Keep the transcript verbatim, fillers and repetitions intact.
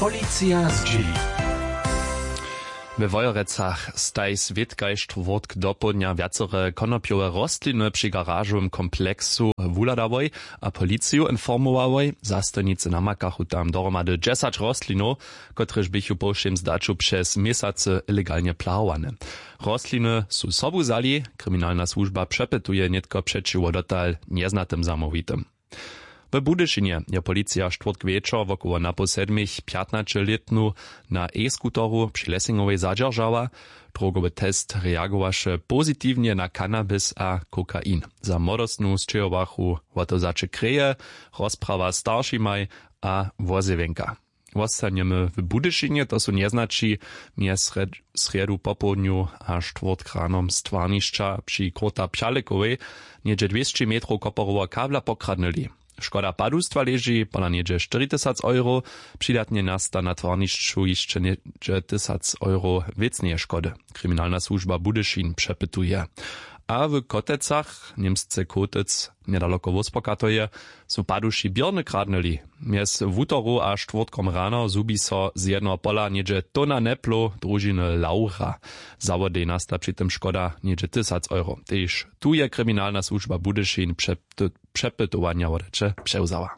Policija zdźěli. We Wojerecach staj swět kaž štwórtk dopołdnja wjacore konopjowe rostliny při garažowym kompleksu wuhladałoj a policiju informowałoj. Zastojnicy namakachu tam dohromady dźesać rostlinow, kotrež běchu po wšěm zdaću přez měsacy ilegalnje plahowane. Rostliny su sobu wzali. Kriminalna słužba přepytuje nětko přećiwo dotal njeznatym zamołwitym. W Budyšinje je policija štwórtk wječor wokoło napoł sedmich pjatnaćelětnu na e-skuteru při Lessingowej zadźeržała. Drogowy test reagowaše pozitiwnje na cannabis a kokain. Za młodostnu sćěhowachu wotozaće kreje, rozprawa staršimaj a wozjewjenka. Wostanjemy w Budyšinje, to su njeznaći mjez srjedu popołdnju a štwórtk ranom stwarnišća při króta pšalekowej něhdźe dwěsći metrow koporoweho kabla pokradnyli. Škoda padustwa leži pola něhdźe štyri tysac euro. Přidatnje nasta na twarnišću hišće něhdźe tysac euro wěcneje škody. Kriminalna słužba Budyšin přepytuje. A w Kotecach němsce kotec njedaloko wóspokatoje su paduši běrny kradnyli. Mjez wutoru a štwórtkom rano zhubi so z jednoho pola něhdźe tona neplow družiny laura. Zawodej nasta při tym škoda něhdźe tysac euro. Tež tu je kriminalna słužba Budyšin přepytowanja wodaće přewzała.